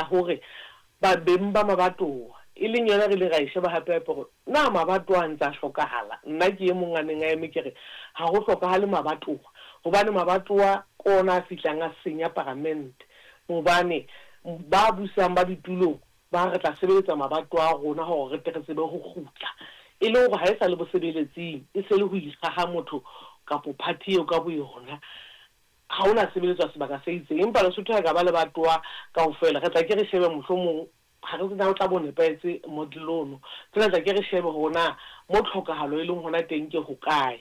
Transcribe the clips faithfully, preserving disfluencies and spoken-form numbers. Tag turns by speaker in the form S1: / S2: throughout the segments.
S1: Hore ba beng ba mabatowa, e leng yona re ile ra e sheba hape hape hore na mabatowa a ntse a hlokahala. Nna ke e mong a neng a eme ke re ha ho hlokahale mabatowa, hobane mabatowa ke ona a fihlang a senya paramente, hobane ba busang ba ditulong ba re tla sebeletsa mabatowa a rona hore re tle re tsebe ho kgutla. E le hore ha e sa le bosebeletsing, e se le ho ikgaha motho kapo party eo ka boyona. Ha hona sebeletswa sebaka se itseng, empa Lesotho ha e ka ba lebatowa kaofela, re tla ke re shebe mohlomong ha re tsena o tla bo nepahetse model ono. Fela tla ke re shebe hore na mo tlhokahalo e leng hona teng ke hokae.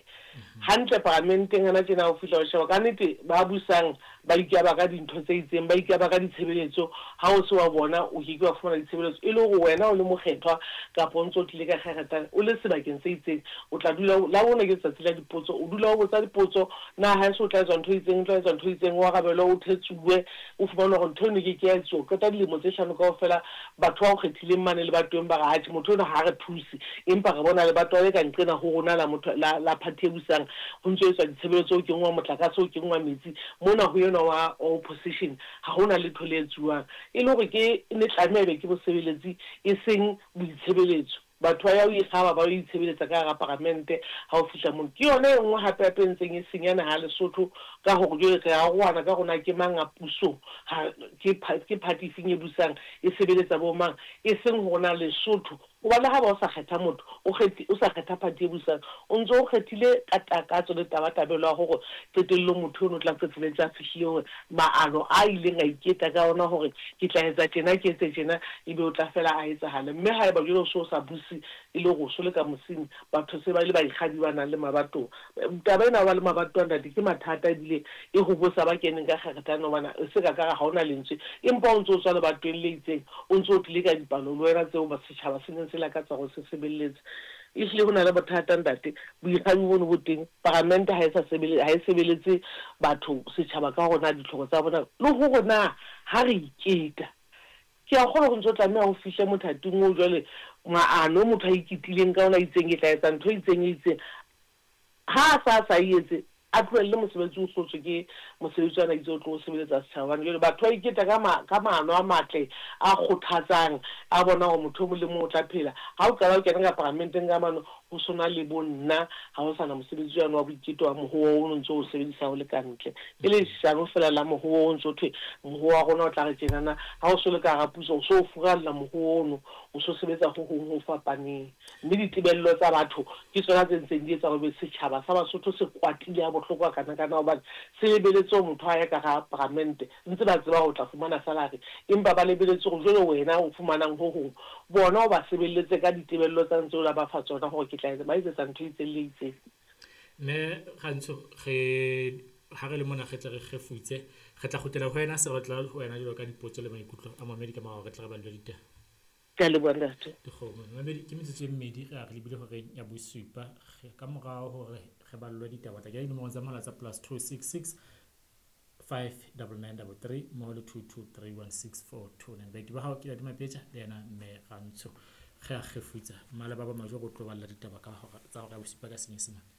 S1: Hantle paramenteng hana tjena o fihla o sheba ka nnete ba busang ba ikaba ka dintho tse itseng, ba ikaba ka ditshebeletso. Ha o se wa bona o ke ke wa fumana ditshebeletso, e le hore wena o le mokgethwa kapa o ntso o tlile ka kgeretane o le sebakeng se itseng, o tla dula la bone ke letsatsi la dipotso, o dula o botsa dipotso, na ha eso o tla etswa ntho e itseng, o tla etswa ntho e itseng, o arabelwe, o thetsuwe, o fumane hore ntho eno e ke ke ya etsuwa. O qeta dilemo tse hlano kaofela batho ba o kgethileng mane lebatoweng ba re atjhe motho enwa ha re thuse, empa re bona lebatowa le ka nqena ho rona la motho la la party e busang ho ntso etswa ditshebeletso, ho kenngwa motlakase, ho kenngwa metsi, mona ho enwa wa opposition ha hona letho le etsuwang. E le hore ke ne tlameha ebe ke bosebeletsi e seng boitshebeletso. Batho ba ya ho ikgaba ba yo itshebeletsa ka hara paramente ha o fihla mono. Ke yona e nngwe hape hape e ntseng e senya naha ya Lesotho, ka hore jwale re arohana ka hore na ke mang a pusong, ha ke ke party efeng e busang, e sebeletsa bo mang, e seng hore na Lesotho. Hobane ha ba o sa kgetha motho, o kgethi o sa kgetha party e busang, o ntso o kgethile ka takatso le tabatabelo ya hore qetellong motho ono o tla qetelletse a fihlile hore maano a ileng a iketa ka ona hore ke tla etsa tjena, ke etse tjena, ebe o tla fela a etsahale. Mme haeba jwale o so o sa buse, e le hore o so le ka mosing, batho se ba le baikgabi ba nang le mabatowa. Taba ena ya ho ba le mabatowa ntate ke mathata, ebile e hobosa ba keneng ka kgeretane, hobane e se ka ka re ha hona lentswe, empa o ntso o tswa lebatoweng le itseng, o ntso o tlile ka dipalo le wena tseo setjhaba se neng se lakatsa hore se sebeletse. Ehlile ho na le bothata ntate, boikgabi bono bo teng, paramente ha e sa sebele ha e sebeletse batho setjhaba ka hore na ditlhoko tsa bona le hore na ha re iketa. Ke a kgolwa ho ntso tlameha ho fihle mothating oo jwale maano motho a iketlileng ka ona a itseng ke tla etsa ntho e itseng e itseng, ha a sa sa e etse, a tlohelle mosebetsi o hlotswe ke mosebetsi ana itse o tlo sebeletsa setjhaba. Hobane jwale batho ba iketa ka ma ka maano a matle a kgothatsang, a bona hore motho e mong le mong o tla phela. Ha o qala o kena ka paramenteng ka mano, ho sona le bo nna, ha ho sana mosebetsi wane wa boiketo wa mohoo o no ntso o sebedisa o le ka ntle. E le leshano fela la mohoo o ntso thwe mohoo wa rona o tla re tjenana, ha o so le ka hara puso o so o furalla mohoo ono, o so sebetsa ho hong ho fapaneng. Mme ditebello tsa batho ke tsona tse ntseng di etsa hore setjhaba sa Basotho se kwatile ha bohloko hakana-kana, hobane se lebeletse hore motho a ye ka hara paramente, ntse ba tseba hore o tla fumana salary, empa ba lebeletse hore jwale wena o fumanang ho hong, bona o ba sebeletse ka ditebello tsa ntse o la ba fa tsona hore ke tla ba etsetsa ntho e itseng le itseng.
S2: Mme Rantsho, re ha re le mona re tle re kgefutse, re tla kgutlela ho wena, se re tla ho wena jwalo ka dipotso le maikutlo a mamedi ka mora hore re tle re ballwe ditaba.
S1: Ke a leboha ntate.
S2: Dikgomo. Mamedi ke metsotso e mmedi re a re lebile horeng ya bosupa, ka morao hore re ballwe ditaba. Tla kenya dinomoro tsa mohala tsa plus two six six five double nine double three mmoho le two two three one six four two nine. Baeti ba hao ke Ladi Mapetja le yena mme Rantsho. Re a kgefutsa. Mmale ba ba majoro o tlo balla ditaba ka hora tsa hora ya bosupa ka Senyesemane.